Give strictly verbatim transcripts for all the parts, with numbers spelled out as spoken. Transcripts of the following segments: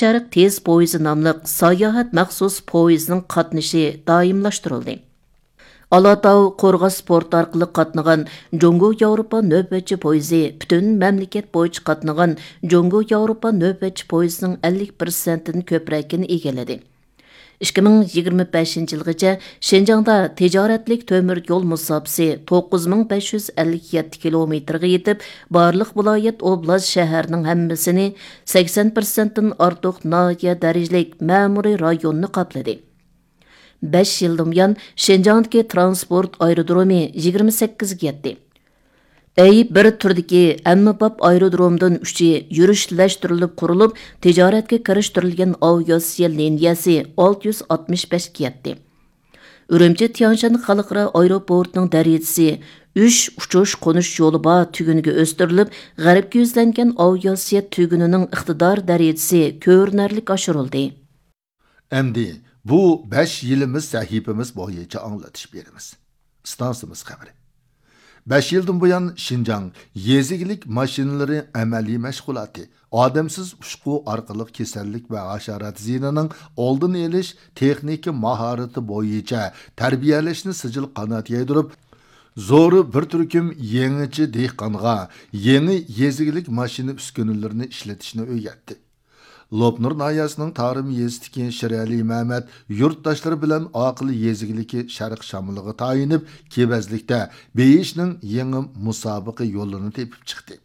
شەرق تېز پويىزى ناملىق ساياھەت مەخسۇس پويىزىنىڭ قاتنىشى دائىملاشتۇرۇلدى. ئالاتاۋ قورغاس پورتى ئارقىلىق قاتنىغان جۇڭگو ياۋروپا نۆۋەتچى پويىزى پۈتۈن مەملىكەت بويىچە قاتنىغان جۇڭگو ياۋروپا نۆۋەتچى پويىزىنىڭ ئەللىك پىرسەنتتىن كۆپرەكىنى ئىگىلىدى. ئىككى مىڭ يىگىرمە بەشىنچى يىلغىچە شىنجاڭدا تىجارەتلىك تۆمۈر يول مۇساپىسى توققۇز مىڭ بەش يۈز ئەللىك يەتتە كىلومېتىرغا يېتىپ، بارلىق ۋىلايەت، ئوبلاست، شەھەرنىڭ ھەممىسىنى، سەكسەن پىرسەنتتىن ئارتۇق ناھىيە دەرىجىلىك مەمۇرىي رايوننى قاپلىدى. بەش يىلدىن بۇيان شىنجاڭدىكى ترانسپورت ئايرودرومى يىگىرمە سەككىزگە يەتتى. ئەي بىر تۈردىكى ئەممىباب ئايرودرومدىن ئۈچى يۈرۈشلەشتۈرۈلۈپ قۇرۇلۇپ، تىجارەتكە كىرىشتۈرۈلگەن ئاۋىئاتسىيە لىنىيەسى ئالتە يۈز ئاتمىش بەشكە يەتتى. ئۈرۈمچى تيەنشان خەلقئارا ئايروپورتىنىڭ دەرىجىسى ئۈچ ئۇچۇش قونۇش يولى بار تۈگۈنگە ئۆستۈرۈلۈپ، غەربكە يۈزلەنگەن ئاۋىئاتسىيە تۈگۈنىنىڭ ئىقتىدار دەرىجىسى كۆرۈنەرلىك ئاشۇرۇلدى. ئەمدى بۇ بەش يىلىمىز سەھىپىمىز بويىچە ئاڭلىتىش بېرىمىز. ئىستانسىمىز خەۋىرى. بەش يىلدىن بۇيان شىنجاڭ يېزا ئىگىلىك ماشىنىلىرى ئەمەلىي مەشغۇلاتى، ئادەمسىز ئۇچقۇ ئارقىلىق كېسەللىك ۋە ھاشارات زىيىنىنىڭ ئالدىنى ئېلىش تېخنىكا ماھارىتى بويىچە تەربىيەلەشنى سىجىل قانات يايدۇرۇپ، زورۇ بىر تۈركۈم يېڭىچە دېھقانغا يېڭى يېزا ئىگىلىك ماشىنا ئۈسكۈنىلىرىنى ئىشلىتىشنى ئۆگەتتى. لوپنۇر ناھىيەسىنىڭ تارىم يېزىسىدىكى شىرئەلى مەمەت يۇرتداشلىرى بىلەن ئاقىل يېزا ئىگىلىكى شەرق شامىلىغا تايىنىپ، كېۋەزلىكتە بېيىشنىڭ يېڭى مۇسابىقە يولىنى تېپىپ چىقتى.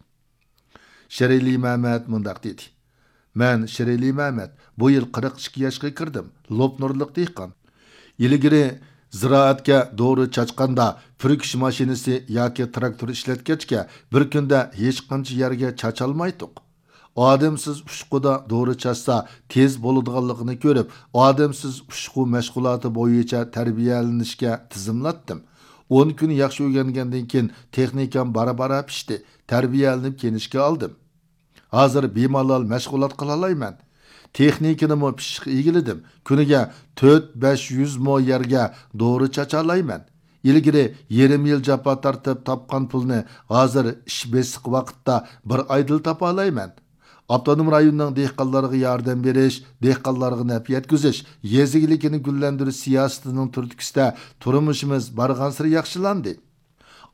شىرئەلى مەمەت مۇنداق دېدى: مەن شىرئەلى مەمەت، بۇ يىل قىرىق ئىككى ياشقا كىردىم، لوپنۇرلۇق دېھقان. ئىلگىرى زىرائەتكە دورا چاچقاندا، پۈركۈش ماشىنىسى ياكى تىراكتور ئىشلەتكەچكە، بىر كۈندە ھېچقانچە يەرگە چاچالمايتتۇق. ئادەمسىز ئۇچقۇدا دورا چاچسا تېز بولىدىغانلىقىنى كۆرۈپ، ئادەمسىز ئۇچقۇ مەشغۇلاتى بويىچە تەربىيەلىنىشكە تىزىملاتتىم. ئون كۈن ياخشى ئۆگەنگەندىن كېيىن، تېخنىكام بارا-بارا پىشتى، تەربىيەلىنىپ كېنىشكە ئالدىم. ھازىر بىمالال مەشغۇلات قىلالايمەن. تېخنىكىنىمۇ پىششىق ئىگىلىدىم. كۈنىگە تۆت بەش يۈز مو يەرگە دورا چاچالايمەن. ئىلگىرى يېرىم يىل جاپا تارتىپ تاپقان پۇلنى ھازىر ئىش بېسىق ۋاقىتتا بىر ئايدىلا تاپالايمەن. ئاپتونوم رايوننىڭ دېھقانلارغا ياردەم بېرىش، دېھقانلارغا نەپ يەتكۈزۈش، يېزا ئىگىلىكىنى گۈللەندۈرۈش سىياسىتىنىڭ تۈرتكىسىدە تۇرمۇشىمىز بارغانسېرى ياخشىلاندى.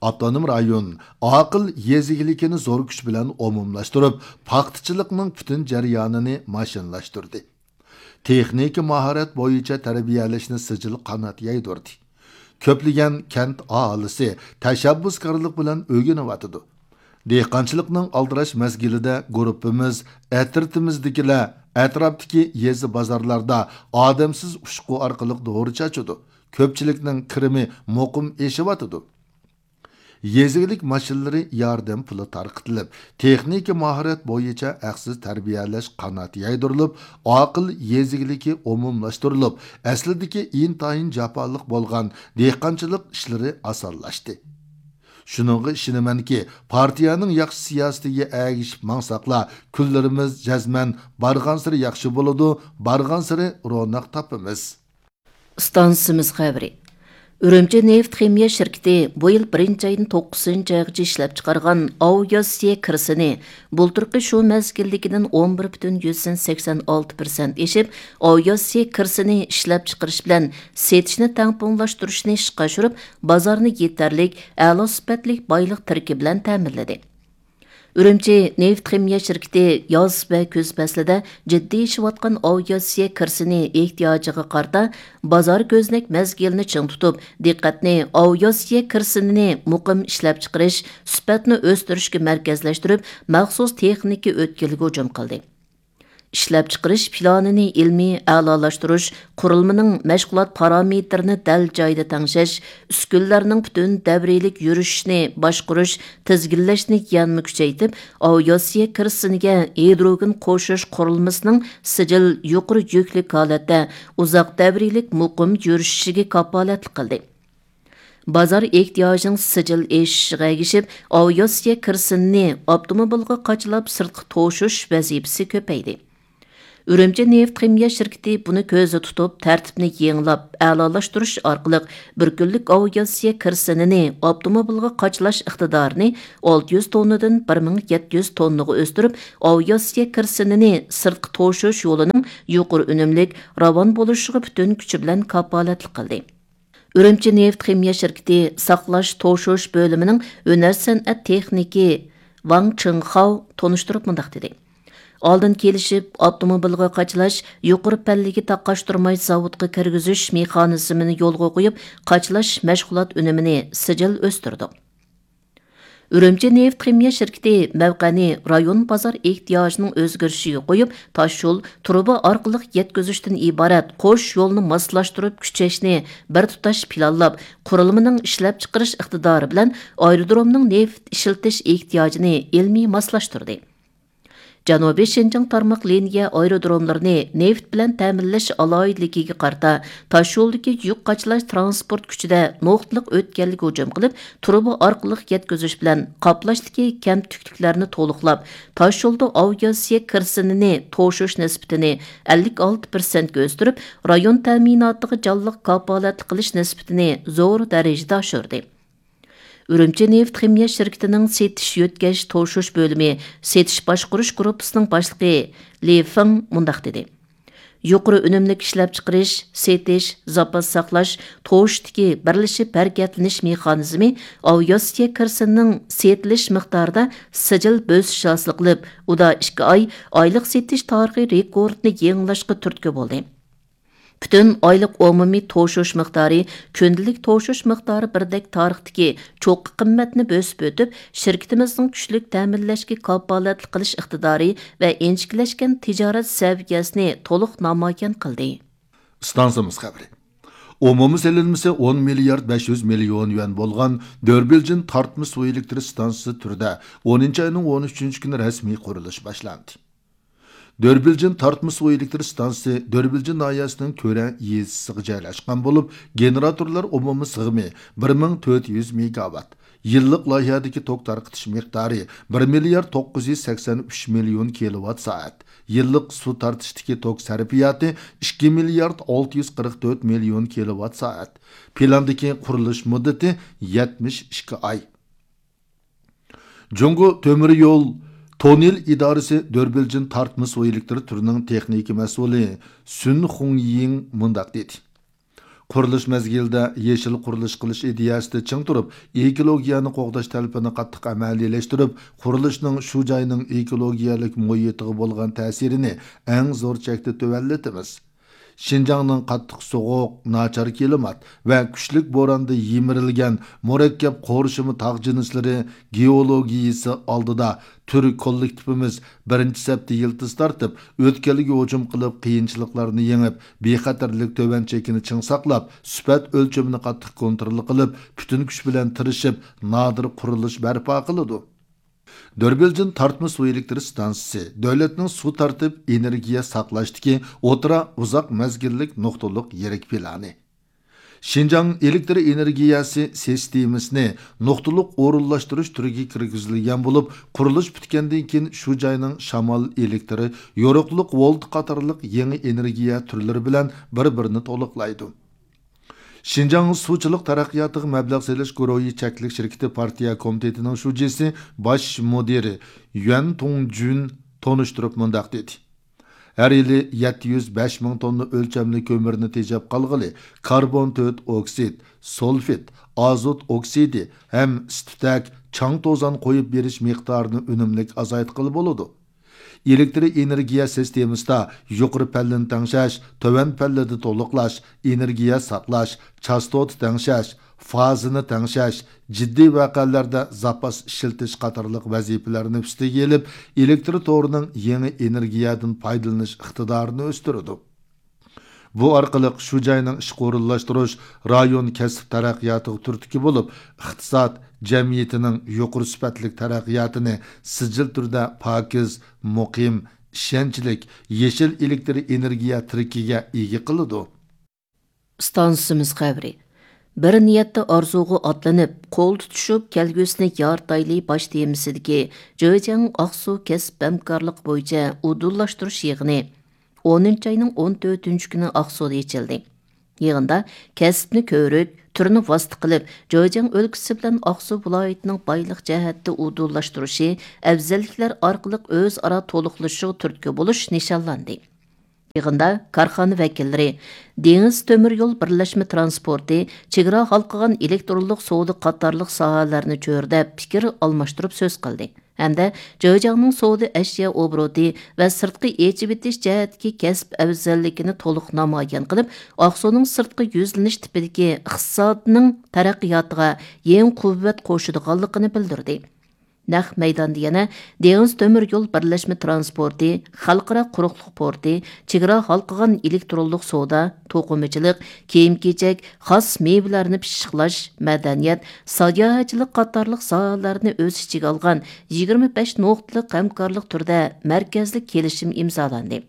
ئاپتونوم رايون ئاقىل يېزا ئىگىلىكىنى زور كۈچ بىلەن ئومۇملاشتۇرۇپ، پاختىچىلىقنىڭ پۈتۈن جەريانىنى ماشىنىلاشتۇردى. تېخنىكا ماھارەت بويىچە تەربىيەلەشنى سىجىل قانات يايدۇردى. كۆپلىگەن كەنت ئاھالىسى تەشەببۇسكارلىق بىلەن ئۆگىنىۋاتىدۇ. دېھقانچىلىقنىڭ ئالدىراش مەزگىلىدە گۇرۇپپىمىز ئەترىتىمىزدىكىلەر ئەتراپتىكى يېزا بازارلاردا ئادەمسىز ئۇچقۇ ئارقىلىق دورا چاچىدۇ. كۆپچىلىكنىڭ كىرىمى مۇقىم ئېشىۋاتىدۇ. يېزا ئىگىلىك ماشىنىلىرى ياردەم پۇلى تارقىتىلىپ، تېخنىكا ماھارەت بويىچە ھەقسىز تەربىيەلەش قانات يايدۇرۇلۇپ، ئاقىل يېزا ئىگىلىكى ئومۇملاشتۇرۇلۇپ، ئەسلىدىكى ئىنتايىن جاپالىق بولغان دېھقانچىلىق ئىشلىرى ئاسانلاشتى. شۇنىڭغا ئىشىنىمەنكى، پارتىيەنىڭ ياخشى سىياسىتىگە ئەگىشىپ ماڭساقلا، كۈنلىرىمىز جەزمەن بارغانسېرى ياخشى بولىدۇ، بارغانسېرى روناق تاپىمىز. ئىستانسىمىز خەۋىرى. ئۈرۈمچى نېفىت خىمىيە شىركىتى بۇ يىل بىرىنچى ئايدىن توققۇزىنچى ئايغىچە ئىشلەپچىقارغان ئاۋىئاتسىيە كىرىسىنى بۇلتۇرقى شۇ مەزگىلدىكىدىن ئون بىر پۈتۈن يۈزدىن سەكسەن ئالتە پىرسەنت ئېشىپ، ئاۋىئاتسىيە كىرىسىنى ئىشلەپچىقىرىش بىلەن سېتىشنى تەڭپۇڭلاشتۇرۇشنى ئىشقا ئاشۇرۇپ، بازارنى يېتەرلىك، ئەلا سۈپەتلىك بايلىق تىركى بىلەن تەمىنلىدى. ئۈرۈمچى نېفىت خىمىيە شىركىتى ياز ۋە كۈز پەسلىدە جىددىي ئېشىۋاتقان ئاۋىئاتسىيە كىرىسىنى ئېھتىياجىغا قارىتا، بازار كۆزنەك مەزگىلىنى چىڭ تۇتۇپ، دىققەتنى ئاۋىئاتسىيە كىرىسىنىنى مۇقىم ئىشلەپچىقىرىش، سۈپەتنى ئۆستۈرۈشكە مەركەزلەشتۈرۈپ، مەخسۇس تېخنىكا ئۆتكىلىگە ھۇجۇم قىلدى. ئىشلەپچىقىرىش پىلانىنى ئىلمىي ئەلالاشتۇرۇش، قۇرۇلمىنىڭ مەشغۇلات پارامېتىرىنى دەل جايىدا تەڭشەش، ئۈسكۈنىلەرنىڭ پۈتۈن دەۋرىيلىك يۈرۈشۈشىنى باشقۇرۇش، تىزگىنلەشنى يەنىمۇ كۈچەيتىپ، ئاۋىئاتسىيە كىرىسىنىگە ھىدروگېن قوشۇش قۇرۇلمىسىنىڭ سىجىل يۇقىرى يۈكلۈك ھالەتتە ئۇزاق دەۋرىيلىك مۇقىم يۈرۈشۈشىگە كاپالەتلىك قىلدى. بازار ئېھتىياجىنىڭ سىجىل ئېشىشىغا ئەگىشىپ، ئاۋىئاتسىيە كىرىسىنىنى ئاپتوموبىلغا قاچىلاپ سىرتقا توشۇش ۋەزىپىسى كۆپەيدى. ئۈرۈمچى نېفىت خىمىيە شىركىتى بۇنى كۆزدە تۇتۇپ، تەرتىپنى يېڭىلاپ، ئەلالاشتۇرۇش ئارقىلىق بىر كۈنلۈك ئاۋىئاتسىيە كىرىسىنىنى ئاپتوموبىلغا قاچىلاش ئىقتىدارىنى ئالتە يۈز توننىدىن بىر مىڭ يەتتە يۈز توننىغا ئۆستۈرۈپ، ئاۋىئاتسىيە كىرىسىنىنى سىرتقا توشۇش يولىنىڭ يۇقىرى ئۈنۈملۈك، راۋان بولۇشىغا پۈتۈن كۈچى بىلەن كاپالەتلىك قىلدى. ئۈرۈمچى نېفىت خىمىيە شىركىتى ساقلاش، توشۇش بۆلۈمىنىڭ ھۈنەر سەنئەت تېخنىكى ۋاڭ چىڭخاۋ تونۇشتۇرۇپ مۇنداق دېدى: ئالدىن كېلىشىپ، ئاپتوموبىلغا قاچىلاش يۇقىرى پەللىگە تاقاشتۇرماي زاۋۇتقا كىرگۈزۈش مېخانىزمىنى يولغا قويۇپ، قاچىلاش مەشغۇلات ئۈنۈمىنى سىجىل ئۆستۈردۇق. ئۈرۈمچى نېفىت خىمىيە شىركىتى مەۋقەنى رايون بازار ئېھتىياجىنىڭ ئۆزگىرىشىگە قويۇپ، تاشيول، تۇرۇبا ئارقىلىق يەتكۈزۈشتىن ئىبارەت قوش يولنى ماسلاشتۇرۇپ كۈچەشنى بىر تۇتاش پىلانلاپ، قۇرۇلمىنىڭ ئىشلەپچىقىرىش ئىقتىدارى بىلەن ئايرودرومنىڭ نېفىت ئىشلىتىش ئېھتىياجىنى ئىلمىي ماسلاشتۇردى. جەنۇبىي شىنجاڭ تارماق لىنىيە ئايرودروملىرىنى نېفىت بىلەن تەمىنلەش ئالاھىدىلىكىگە قارىتا، تاشيولدىكى يۈك قاچىلاش تىرانسپورت كۈچىدە نۇقتىلىق ئۆتكەلگە ھۇجۇم قىلىپ، تۇرۇبا ئارقىلىق يەتكۈزۈش بىلەن قاپلاشتىكى كەمتۈكلۈكلەرنى تولۇقلاپ، تاشيولدا ئاۋىئاتسىيە كىرسىنىنى توشۇش نىسبىتىنى ئەللىك ئالتە پىرسەنتكە ئۆستۈرۈپ، رايون تەمىناتىغا جانلىق كاپالەتلىك قىلىش نىسبىتىنى زور دەرىجىدە ئاشۇردى. ئۈرۈمچى نېفىت خىمىيە شىركىتىنىڭ سېتىش يۆتكەش توشۇش بۆلۈمى سېتىش باشقۇرۇش گۇرۇپپىسىنىڭ باشلىقى لى فېڭ مۇنداق دېدى: يۇقىرى ئۈنۈملۈك ئىشلەپچىقىرىش، سېتىش، زاپاس ساقلاش، توشۇشتىكى بىرلىشىپ ھەرىكەتلىنىش مېخانىزمى ئاۋىئاتسىيە كىرسىنىنىڭ سېتىلىش مىقدارىدا سىجىل بۆسۈش ھاسىل قىلىپ، ئۇدا ئىككى ئاي ئايلىق سېتىش تارىخى رېكورتىنى يېڭىلاشقا تۈرتكە بولدى. پۈتۈن ئايلىق ئومۇمىي توشۇش مىقدارى، كۈندىلىك توشۇش مىقدارى بىردەك تارىختىكى چوققا قىممەتنى بۆسۈپ ئۆتۈپ، شىركىتىمىزنىڭ كۈچلۈك تەمىنلەشكە كاپالەتلىك قىلىش ئىقتىدارى ۋە ئىنچىكىلەشكەن تىجارەت سەۋىيەسىنى تولۇق نامايان قىلدى. ئىستانسىمىز خەۋىرى. ئومۇمىي سېلىنمىسى ئون مىليارد بەش يۈز مىليون يۈەن بولغان دۆربىلجىن تارتما سۇ ئېلېكتر ئىستانسىسى تۈرىدە ئونىنچى ئاينىڭ ئون ئۈچىنچى كۈنى رەسمىي قۇرۇلۇش باشلاندى. دۆربىلجىن تارتما سۇ ئېلېكتر ئىستانسىسى دۆربىلجىن ناھىيەسىنىڭ كۆرە يېزىسىغا جايلاشقان بولۇپ، گېنېراتورلار ئومۇمىي سىغىمى بىر مىڭ تۆت يۈز مېگاۋات، يىللىق لايىھەدىكى توك تارقىتىش مىقدارى بىر مىليارد توققۇز يۈز سەكسەن ئۈچ مىليون كىلوۋات سائەت، يىللىق سۇ تارتىشتىكى توك سەرپىياتى ئىككى مىليارد ئالتە يۈز قىرىق تۆت مىليون كىلوۋات سائەت، پىلاندىكى قۇرۇلۇش مۇددىتى يەتمىش ئىككى ئاي. جۇڭگو تۆمۈر يول توننېل ئىدارىسى دۆربىلجىن تارتما سۇ ئېلېكتر تۈرىنىڭ تېخنىكا مەسئۇلى سۈن خۇڭيىڭ مۇنداق دېدى: قۇرۇلۇش مەزگىلىدە يېشىل قۇرۇلۇش قىلىش ئىدىيەسىدە چىڭ تۇرۇپ، ئېكولوگىيەنى قوغداش تەلىپىنى قاتتىق ئەمەلىيلەشتۈرۈپ، قۇرۇلۇشنىڭ شۇ جاينىڭ ئېكولوگىيەلىك مۇھىتىغا بولغان تەسىرىنى ئەڭ زور چەكتە تۆۋەنلىتىمىز. شىنجاڭنىڭ قاتتىق سوغۇق، ناچار كىلىمات ۋە كۈچلۈك بوراندا يىمىرىلگەن مۇرەككەپ قورشىما تاغ جىنسلىرى گېئولوگىيىسى ئالدىدا تۈر كوللېكتىپىمىز بىرىنچى سەپتە يىلتىز تارتىپ، ئۆتكەلگە ھۇجۇم قىلىپ، قىيىنچىلىقلارنى يېڭىپ، بىخەتەرلىك تۆۋەن چېكىنى چىڭ ساقلاپ، سۈپەت ئۆلچىمىنى قاتتىق كونترول قىلىپ، پۈتۈن كۈچ بىلەن تىرىشىپ، نادىر قۇرۇلۇش بەرپا قىلىدۇ. دۆربىلجىن تارتما سۇ ئېلېكتر ئىستانسىسى دۆلەتنىڭ سۇ تارتىپ ئېنېرگىيە ساقلاشتىكى ئوتتۇرا ئۇزاق مەزگىللىك نۇقتىلىق يىرىك پىلانى. شىنجاڭ ئېلېكتر ئېنېرگىيەسى سىستېمىسىنى نۇقتىلىق ئورۇنلاشتۇرۇش تۈرىگە كىرگۈزۈلگەن بولۇپ، قۇرۇلۇش پۈتكەندىن كېيىن شۇ جاينىڭ شامال ئېلېكتىرى، يورۇقلۇق ۋولت قاتارلىق يېڭى ئېنېرگىيە تۈرلىرى بىلەن بىر-بىرىنى تولۇقلايدۇ. شىنجاڭ سۇچىلىق تەرەققىياتىغا مەبلەغ سېلىش گۇرۇھى چەكلىك شىركىتى پارتىيە كومىتېتىنىڭ شۇجىسى، باش مۇدىرى يۈەن تۇڭجۈن تونۇشتۇرۇپ مۇنداق دېدى: ھەر يىلى يەتتە يۈز بەش مىڭ توننا ئۆلچەملىك كۆمۈرنى تېجەپ قالغىلى، كاربون تۆت ئوكسىد، سۇلفىد، ئازوت ئوكسىدى ھەم ئىس-تۈتەك، چاڭ-توزان قويۇپ بېرىش مىقدارىنى ئۈنۈملۈك ئازايتقىلى بولىدۇ. ئېلېكتر ئېنېرگىيە سىستېمىسىدا يۇقىرى پەللىنى تەڭشەش، تۆۋەن پەللىدە تولۇقلاش، ئېنېرگىيە ساقلاش، چاستوتا تەڭشەش، فازىنى تەڭشەش، جىددىي ۋەقەلەردە زاپاس ئىشلىتىش قاتارلىق ۋەزىپىلەرنى ئۈستىگە ئېلىپ، ئېلېكتر تورىنىڭ يېڭى ئېنېرگىيەدىن پايدىلىنىش ئىقتىدارىنى ئۆستۈرىدۇ. بۇ ئارقىلىق شۇ جاينىڭ ئىشقا ئورۇنلاشتۇرۇش، رايون كەسىپ تەرەققىياتىغا تۈرتكە بولۇپ، ئىقتىساد، جەمئىيىتىنىڭ يۇقىرى سۈپەتلىك تەرەققىياتىنى سىجىل تۈردە پاكىز، مۇقىم، ئىشەنچلىك، يېشىل ئېلېكتر ئېنېرگىيە تىرىكىگە ئىگە قىلىدۇ. ئىستانسىمىز خەۋىرى. بىر نىيەتتە ئارزۇغا ئاتلىنىپ، قول تۇتۇشۇپ، كەلگۈسىنى يارىتايلى باش تېمىسىدىكى جېجياڭ ئاقسۇ كەسىپ ھەمكارلىقى بويىچە ئۇدۇللاشتۇرۇش يىغىنى ئونىنچى ئاينىڭ ئون تۆتىنچى كۈنى ئاقسۇدا ئېچىلدى. يىغىندا كەسىپنى كۆرۈك، تۈرنى ۋاسىتە قىلىپ، جېجياڭ ئۆلكىسى بىلەن ئاقسۇ ۋىلايىتىنىڭ بايلىق جەھەتتە ئۇدۇللاشتۇرۇشى، ئەۋزەللىكلەر ئارقىلىق ئۆزئارا تولۇقلىشىشىغا تۈرتكە بولۇش نىشانلاندى. يىغىندا كارخانا ۋەكىللىرى دېڭىز تۆمۈر يول بىرلەشمە ترانسپورتى، چېگرا ھالقىغان ئېلېكترونلۇق سودا قاتارلىق ساھەلەرنى چۆرىدەپ پىكىر ئالماشتۇرۇپ سۆز قىلدى ھەمدە جېجياڭنىڭ سودا ئەشيا ئوبوروتى ۋە سىرتقا ئېچىۋېتىش جەھەتتىكى كەسىپ ئەۋزەللىكىنى تولۇق نامايان قىلىپ، ئاقسۇنىڭ سىرتقا يۈزلىنىش تىپىدىكى ئىقتىسادنىڭ تەرەققىياتىغا يېڭى قۇۋۋەت قوشىدىغانلىقىنى بىلدۈردى. نەق مەيداندا يەنە دېڭىز تۆمۈر يول بىرلەشمە ترانسپورتى، خەلقئارا قۇرۇقلۇق پورتى، چېگرا ھالقىغان ئېلېكترونلۇق سودا، توقۇمىچىلىق، كىيىم-كېچەك، خاس مېۋىلەرنى پىششىقلاش، مەدەنىيەت، ساياھەتچىلىك قاتارلىق ساھەلەرنى ئۆز ئىچىگە ئالغان يىگىرمە بەش نۇقتىلىق ھەمكارلىق تۈرىدە مەركەزلىك كېلىشىم ئىمزالاندى.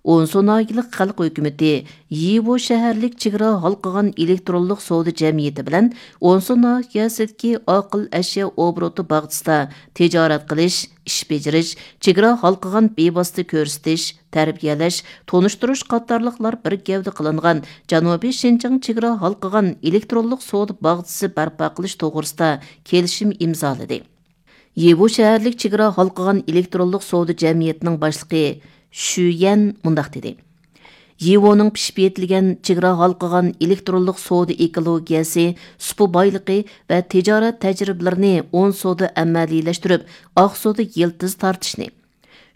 ئونسۇ ناھىيەلىك خەلق ھۆكۈمىتى يىۋو شەھەرلىك چېگرا ھالقىغان ئېلېكترونلۇق سودا جەمئىيىتى بىلەن ئونسۇ ناھىيەسىدىكى ئاقىل ئەشيا ئوبوروتى باغچىسىدا تىجارەت قىلىش، ئىش بېجىرىش، چېگرا ھالقىغان بىۋاسىتە كۆرسىتىش، تەربىيەلەش، تونۇشتۇرۇش قاتارلىقلار بىر گەۋدە قىلىنغان جەنۇبىي شىنجاڭ چېگرا ھالقىغان ئېلېكترونلۇق سودا باغچىسى بەرپا قىلىش توغرىسىدا كېلىشىم ئىمزالىدى. يىۋو شەھەرلىك چېگرا ھالقىغان ئېلېكترونلۇق سودا جەمئىيىتىنىڭ باشلىقى شۈيەن مۇنداق دېدى: يىۋونىڭ پىشىپ يېتىلگەن چېگرا ھالقىغان ئېلېكترونلۇق سودا ئېكولوگىيەسى، سۇپا بايلىقى ۋە تىجارەت تەجرىبىلىرىنى ئونسۇدا ئەمەلىيلەشتۈرۈپ، ئاقسۇدا يىلتىز تارتىشنى،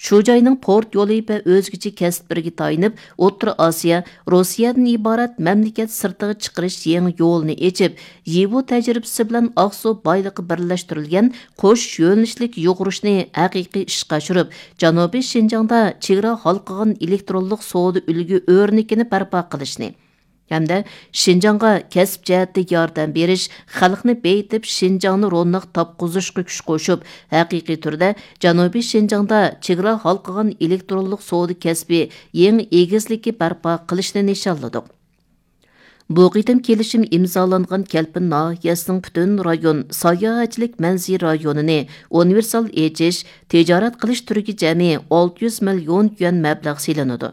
شۇ جاينىڭ پورت يولى ۋە ئۆزگىچە كەسىپلىرىگە تايىنىپ، ئوتتۇرا ئاسىيا، روسىيەدىن ئىبارەت مەملىكەت سىرتىغا چىقىرىش يېڭى يولىنى ئېچىپ، يىۋو تەجرىبىسى بىلەن ئاقسۇ بايلىقى بىرلەشتۈرۈلگەن قوش يۆنىلىشلىك يۇغۇرۇشنى ھەقىقىي ئىشقا ئاشۇرۇپ، جەنۇبىي شىنجاڭدا چېگرا ھالقىغان ئېلېكترونلۇق سودا ئۈلگە ئۆرنىكىنى بەرپا قىلىشنى، ھەمدە شىنجاڭغا كەسىپ جەھەتتە ياردەم بېرىش، خەلقنى بېيىتىپ، شىنجاڭنى روناق تاپقۇزۇشقا كۈچ قوشۇپ، ھەقىقىي تۈردە جەنۇبىي شىنجاڭدا چېگرا ھالقىغان ئېلېكترونلۇق سودا كەسپى يېڭى ئېگىزلىكى بەرپا قىلىشنى نىشانلىدۇق. بۇ قېتىم كېلىشىم ئىمزالانغان كەلپىن ناھىيەسىنىڭ پۈتۈن رايون ساياھەتچىلىك مەنزىرە رايونىنى ئۇنىۋېرسال ئېچىش، تىجارەت قىلىش تۈرىگە جەمئىي ئالتە يۈز مىليون يۈەن مەبلەغ سېلىنىدۇ.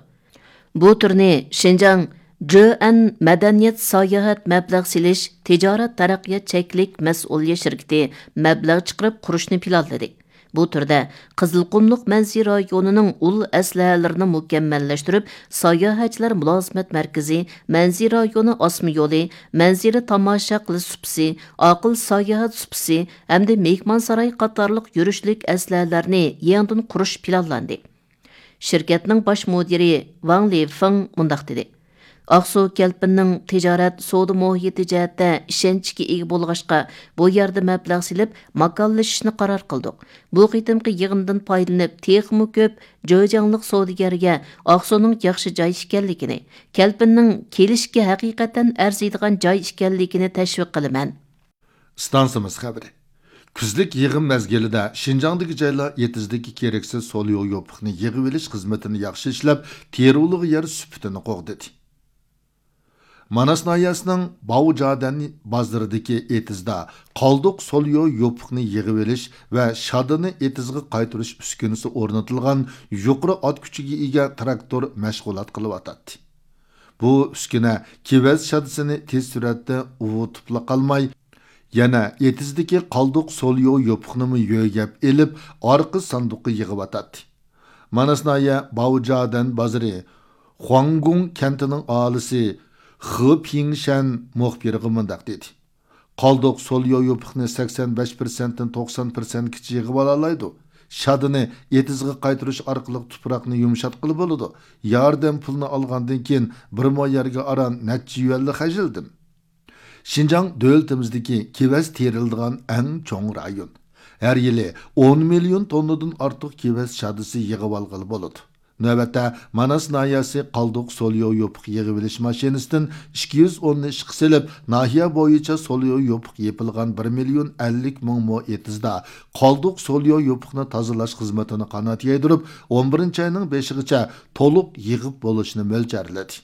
بۇ تۈرنى شىنجاڭ جۆئەن مەدەنىيەت ساياھەت مەبلەغ سېلىش تىجارەت تەرەققىيات چەكلىك مەسئۇلىيەت شىركىتى مەبلەغ چىقىرىپ قۇرۇشنى پىلانلىدى. بۇ تۈردە قىزىلقۇملۇق مەنزىرە رايونىنىڭ ئۇل ئەسلىھەلىرىنى مۇكەممەللەشتۈرۈپ، ساياھەتچىلەر مۇلازىمەت مەركىزى، مەنزىرە رايونى ئاسما يولى، مەنزىرە تاماشا قىلىش سۇپىسى، ئاقىل ساياھەت سۇپىسى ھەمدە مېھمانساراي قاتارلىق يۈرۈشلۈك ئەسلىھەلەرنى يېڭىدىن قۇرۇش پىلانلاندى. شىركەتنىڭ باش مۇدىرى ۋاڭ لىفېڭ مۇنداق دېدى: ئاقسۇ كەلپىننىڭ تىجارەت، سودا مۇھىتى جەھەتتە ئىشەنچكە ئىگە بولغاچقا، بۇ يەردە مەبلەغ سېلىپ، ماكانلىشىشنى قارار قىلدۇق. بۇ قېتىمقى يىغىندىن پايدىلىنىپ، تېخىمۇ كۆپ جېجياڭلىق سودىگەرگە ئاقسۇنىڭ ياخشى جاي ئىكەنلىكىنى، كەلپىننىڭ كېلىشكە ھەقىقەتەن ئەرزىيدىغان جاي ئىكەنلىكىنى تەشۋىق قىلىمەن. ئىستانسىمىز خەۋىرى. كۈزلۈك يىغىم مەزگىلىدە شىنجاڭدىكى جايلار ئېتىزدىكى كېرەكسىز سوليو يوپۇقنى يىغىۋېلىش خىزمىتىنى ياخشى ئىشلەپ، تېرىلغۇ يەر سۈپىتىنى قوغدىدى. ماناس ناھىيەسىنىڭ باۋجادەن بازىرىدىكى ئېتىزدا قالدۇق سوليو يوپۇقنى يىغىۋېلىش ۋە شادىنى ئېتىزغا قايتۇرۇش ئۈسكۈنىسى ئورنىتىلغان يۇقىرى ئات كۈچىگە ئىگە تىراكتور مەشغۇلات قىلىۋاتاتتى. بۇ ئۈسكۈنە كېۋەز شادىسىنى تېز سۈرئەتتە ئۇۋۇتۇپلا قالماي، يەنە ئېتىزدىكى قالدۇق سوليو يوپۇقنىمۇ يۆگەپ ئېلىپ، ئارقا ساندۇققا يىغىۋاتاتتى. ماناس ناھىيە باۋجادەن بازىرى خۇاڭگۇڭ كەنتىنىڭ ئاھالىسى خې پىڭشەن مۇخبىرغا مۇنداق دېدى: قالدۇق سوليو يوپۇقنى سەكسەن بەش پىرسەنتتىن توقسان پىرسەنتكىچە يىغىۋالالايدۇ. شادىنى ئېتىزغا قايتۇرۇش ئارقىلىق تۇپراقنى يۇمشاتقىلى بولىدۇ. ياردەم پۇلىنى ئالغاندىن كېيىن بىر مو يەرگە ئاران نەچچە يۈەنلا خەجلىدىم. شىنجاڭ دۆلىتىمىزدىكى كېۋەز تېرىلىدىغان ئەڭ چوڭ رايون. ھەر يىلى ئون مىليون توننىدىن ئارتۇق كېۋەز شادىسى يىغىۋالغىلى بولىدۇ. نۆۋەتتە، ماناس ناھىيەسى قالدۇق سوليو يوپۇق يىغىۋېلىش ماشىنىسىدىن ئىككى يۈز ئوننى ئىشقا سېلىپ، ناھىيە بويىچە سوليو يوپۇق يېپىلغان بىر مىليون ئەللىك مىڭ مو ئېتىزدا قالدۇق سوليو يوپۇقنى تازىلاش خىزمىتىنى قانات يايدۇرۇپ، ئون بىرىنچى ئاينىڭ بېشىغىچە تولۇق يىغىپ بولۇشنى مۆلچەرلىدى.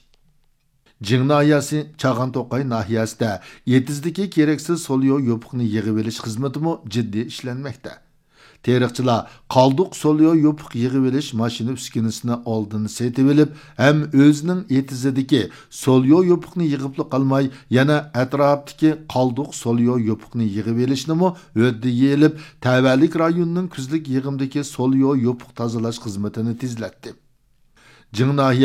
جىڭ ناھىيەسى چاغان توقاي ناھىيەسىدە ئېتىزدىكى كېرەكسىز سوليو يوپۇقنى يىغىۋېلىش خىزمىتىمۇ جىددىي ئىشلەنمەكتە. تېرىقچىلار قالدۇق سوليو يوپۇق يىغىۋېلىش ماشىنا ئۈسكۈنىسىنى ئالدىن سېتىۋېلىپ، ھەم ئۆزىنىڭ ئېتىزىدىكى سوليو يوپۇقنى يىغىپلا قالماي، يەنە ئەتراپتىكى قالدۇق سوليو يوپۇقنى يىغىۋېلىشنىمۇ ھۆددىگە ئېلىپ، تەۋەلىك رايوننىڭ كۈزلۈك يىغىمدىكى سوليو يوپۇق تازىلاش خىزمىتىنى تېزلەتتى. جىڭ ناھىيە